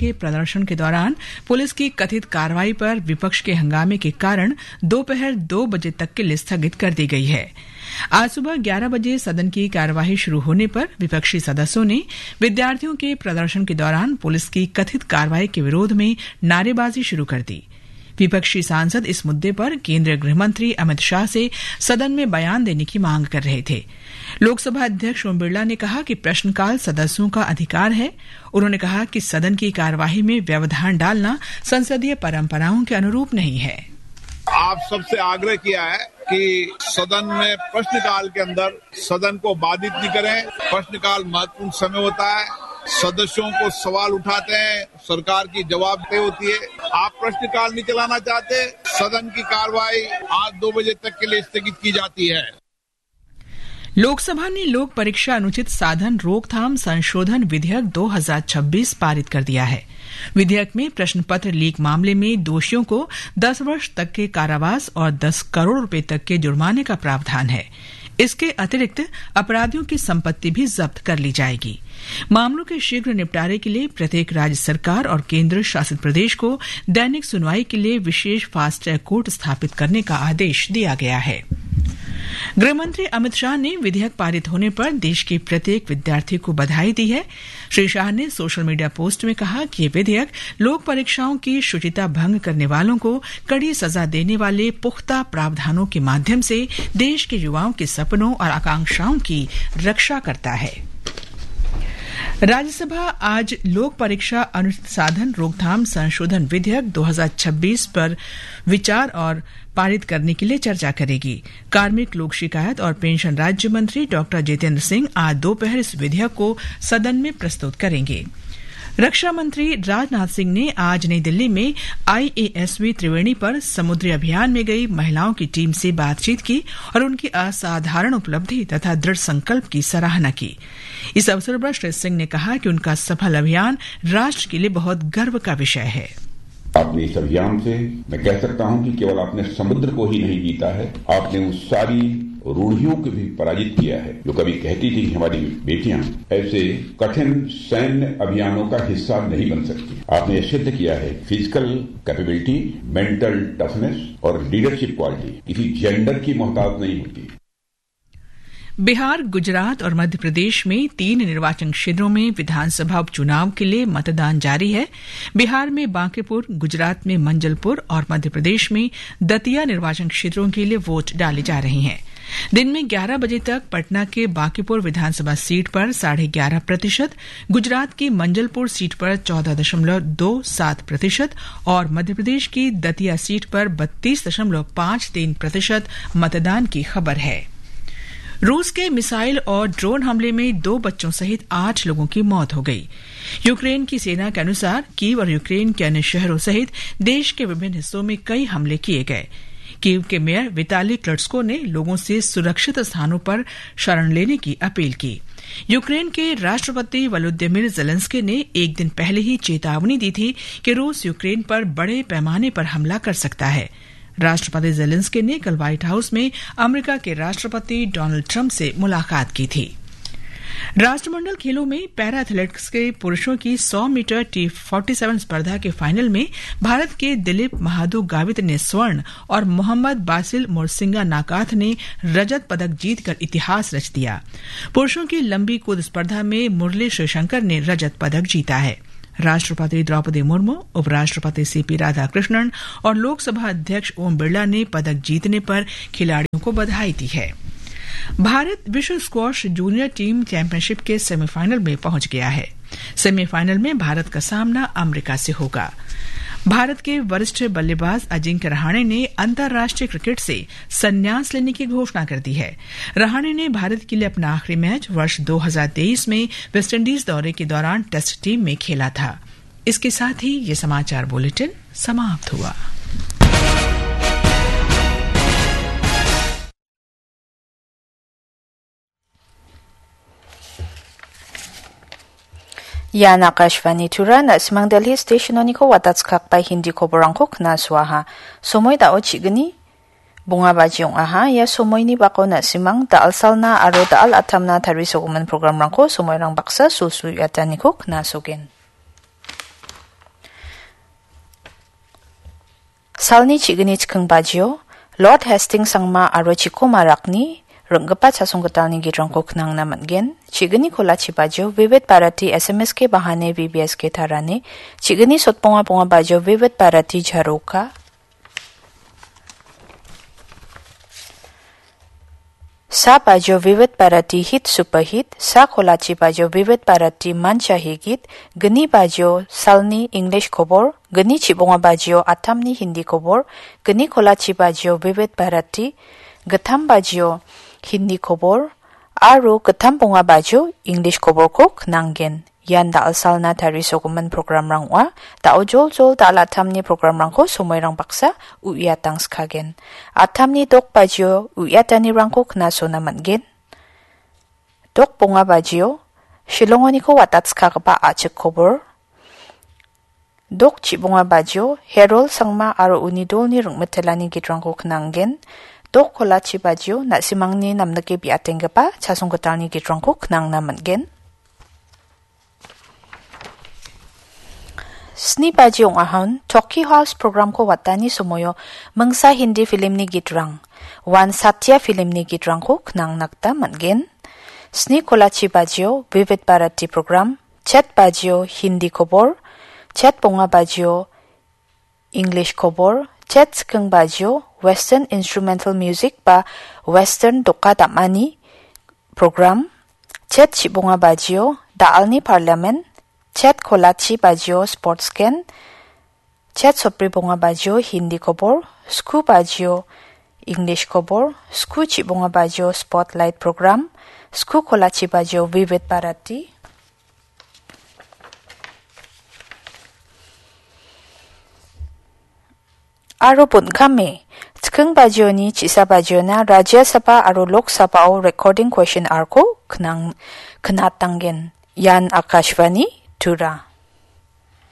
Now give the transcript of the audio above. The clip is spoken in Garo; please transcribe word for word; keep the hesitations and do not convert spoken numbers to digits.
के प्रदर्शन के दौरान पुलिस की कथित कार्रवाई पर विपक्ष के हंगामे के कारण दोपहर दो बजे तक के लिए स्थगित कर दी गई है। आज सुबह ग्यारह बजे सदन की कार्यवाही शुरू होने पर विपक्षी सदस्यों ने विद्यार्थियों के प्रदर्शन के दौरान पुलिस की कथित कार्रवाई के विरोध में नारेबाजी शुरू कर दी। विपक्षी सांसद इस मुद्दे पर केंद्रीय गृह मंत्री अमित शाह से सदन में बयान देने की मांग कर रहे थे। लोकसभा अध्यक्ष ओम बिरला ने कहा कि प्रश्नकाल सदस्यों का अधिकार है। उन्होंने कहा कि सदन की कार्यवाही में व्यवधान डालना संसदीय परंपराओं के अनुरूप नहीं है। आप सबसे आग्रह किया है कि सदन में प्रश्नकाल के अंदर सदन को बाधित नहीं करें। प्रश्नकाल महत्वपूर्ण समय होता है, सदस्यों को सवाल उठाते हैं, सरकार की जवाबदेही होती है। आप प्रश्नकाल नहीं चलाना चाहते, सदन की कार्रवाई आज दो बजे तक के लिए स्थगित की जाती है। लोकसभा ने लोक परीक्षा अनुचित साधन रोकथाम संशोधन विधेयक दो हज़ार छब्बीस पारित कर दिया है। विधेयक में प्रश्न पत्र लीक मामले में दोषियों को दस वर्ष तक के कारावास और दस करोड़ रुपए तक के जुर्माने का प्रावधान है। इसके अतिरिक्त अपराधियों की संपत्ति भी जब्त कर ली जाएगी। मामलों के शीघ्र निपटारे के लिए प्रत्येक राज्य सरकार और केंद्र शासित प्रदेश को दैनिक सुनवाई के लिए विशेष फास्ट ट्रैक कोर्ट स्थापित करने का आदेश दिया गया है। गृह मंत्री अमित शाह ने विधेयक पारित होने पर देश के प्रत्येक विद्यार्थी को बधाई दी है। श्री शाह ने सोशल मीडिया पोस्ट में कहा कि ये विधेयक लोक परीक्षाओं की शुचिता भंग करने वालों को कड़ी सजा देने वाले पुख्ता प्रावधानों के माध्यम से देश के युवाओं के सपनों और आकांक्षाओं की रक्षा करता है। राज्यसभा आज लोक परीक्षा अनुचित साधन रोकथाम संशोधन विधेयक दो हज़ार छब्बीस पर विचार और पारित करने के लिए चर्चा करेगी। कार्मिक, लोक शिकायत और पेंशन राज्य मंत्री डॉक्टर जितेंद्र सिंह आज दोपहर इस विधेयक को सदन में प्रस्तुत करेंगे। रक्षा मंत्री राजनाथ सिंह ने आज नई दिल्ली में आईएएसवी त्रिवेणी पर समुद्री अभियान में गई महिलाओं की टीम से बातचीत की और उनकी असाधारण उपलब्धि तथा दृढ़ संकल्प की सराहना की। इस अवसर पर श्री सिंह ने कहा कि उनका सफल अभियान राष्ट्र के लिए बहुत गर्व का विषय है। अपने इस अभियान से मैं कह सकता हूं कि केवल आपने समुद्र को ही नहीं जीता है, आपने उन सारी रूढ़ियों को भी पराजित किया है, जो कभी कहती थी कि हमारी बेटियां ऐसे कठिन सैन्य अभियानों का हिस्सा नहीं बन सकती। आपने यह सिद्ध किया है, फिजिकल कैपेबिलिटी, मेंटल टफनेस और लीडरशिप क्वालिटी किसी जेंडर की मोहताज नहीं होती। बिहार, गुजरात और मध्य प्रदेश में तीन निर्वाचन क्षेत्रों में विधानसभा उपचुनाव के लिए मतदान जारी है। बिहार में बांकीपुर, गुजरात में मंजलपुर और मध्य प्रदेश में दतिया निर्वाचन क्षेत्रों के लिए वोट डाले जा रहे हैं। दिन में ग्यारह बजे तक पटना के बांकीपुर विधानसभा सीट पर साढ़े ग्यारह प्रतिशत, गुजरात की मंजलपुर सीट पर चौदह दशमलव दो सात प्रतिशत और मध्य प्रदेश की दतिया सीट पर बत्तीस दशमलव पाँच तीन प्रतिशत मतदान की खबर है। रूस के मिसाइल और ड्रोन हमले में दो बच्चों सहित आठ लोगों की मौत हो गई। यूक्रेन की सेना के अनुसार कीव और यूक्रेन के अन्य शहरों सहित देश के विभिन्न हिस्सों में कई हमले किए गए। कीव के मेयर विताली क्लट्स्को ने लोगों से सुरक्षित स्थानों पर शरण लेने की अपील की। यूक्रेन के राष्ट्रपति वोलोदिमिर जेलेंस्की ने एक दिन पहले ही चेतावनी दी थी कि रूस यूक्रेन पर बड़े पैमाने पर हमला कर सकता है। राष्ट्रपति जेलेंस्की ने कल व्हाइट हाउस में अमेरिका के राष्ट्रपति डोनाल्ड ट्रंप से मुलाकात की थी। राष्ट्रमंडल खेलों में पैरा एथलेटिक्स के पुरुषों की सौ मीटर टी फ़ोर्टी सेवन स्पर्धा के फाइनल में भारत के दिलीप महादू गावित ने स्वर्ण और मोहम्मद बासिल मोरसिंगा नाकाथ ने रजत पदक जीतकर इतिहास रच दिया। पुरुषों की लंबी कूद स्पर्धा में मुरली श्रीशंकर ने रजत पदक जीता है। राष्ट्रपति द्रौपदी मुर्मू, उपराष्ट्रपति सीपी राधाकृष्णन और लोकसभा अध्यक्ष ओम बिरला ने पदक जीतने पर खिलाड़ियों को बधाई दी है। भारत विश्व स्क्वॉश जूनियर टीम चैंपियनशिप के सेमीफाइनल में पहुंच गया है। सेमीफाइनल में भारत का सामना अमेरिका से होगा। भारत के वरिष्ठ बल्लेबाज अजिंक्य रहाणे ने अंतर्राष्ट्रीय क्रिकेट से संन्यास लेने की घोषणा कर दी है। रहाणे ने भारत के लिए अपना आखिरी मैच वर्ष दो हज़ार तेईस में वेस्टइंडीज दौरे के दौरान टेस्ट टीम में खेला था। इसके साथ ही ये समाचार बुलेटिन समाप्त हुआ। Ian Akashvani Tura, na·simang Delhi station-oniko watatskakba Hindi koborangko knasoaha. Somoi dao chigni bonga baji ong·aha. Ia somoini bako na·simang da·alsalna aro da·al atamna tarisogimin programrangko somoirang baksa sulsul iataniko knasogen. Salni chigini chikking bajio, Lord Hastings Sangma aro Chiko Marakni ringgipa chasong gitalni gitrangko knangna man·gen. Chigini kolachi bajio, Vivid Bharati S M S K Bahane V B S K Tarane. Chigini sotbonga bonga bajio, Vivid Bharati Jaroka. Sa bajio Vivid Bharati Hit Super Hit, sa kolachi bajio Vivid Bharati Mancha Higit, gni bajio salni English kobor, gni chibonga bajio atamni Hindi kobor, gni kolachi bajio Vivid Bharati, gittam bajio Hindi kobor, aro gittam bonga bajio English koborko knanggen. Ian da·alsalna tarisogimin programrang ong·a. Da·o joljol da·al atamni programrangko somoirang baksa uiatangskagen. Atamni dok bajio uiatanirangko knasona man·gen. Dok bonga bajio Shillongoniko watatskagipa a·chik kobor. Dok chibonga bajio Herol Sangma aro uni dolni ringmitelani gitrangko knanggen. Dok kolachi bajio na·simangni namnike biatenggipa chasong gitalni gitrangko knangna man·gen. Sni baji ong·ahon Tokyo House programko watani somoio mingsa Hindi filmni gitrang, Wan Satya filmni gitrangko knangna gita man·gen. Sni kolachi bajio Vivid Bharati program, chet bajio Hindi kobor, chet bonga bajio English kobor, chet chikking bajio Western Instrumental Music ba Western doka dam·ani program, chet chibonga bajio da·alni parliament, chet kolachi bajio sports gen, chet sotbri bonga bajio Hindi kobor, sku bajio English kobor, sku chibonga bajio spotlight program, sku kolachi bajio Vivid Bharati, aro bon·kame, chikking bajioni, chisa bajiona, Rajya Sabha aro Lok Sabhao recording question arko knang-, knatanggen. Ian Akashvani Tura.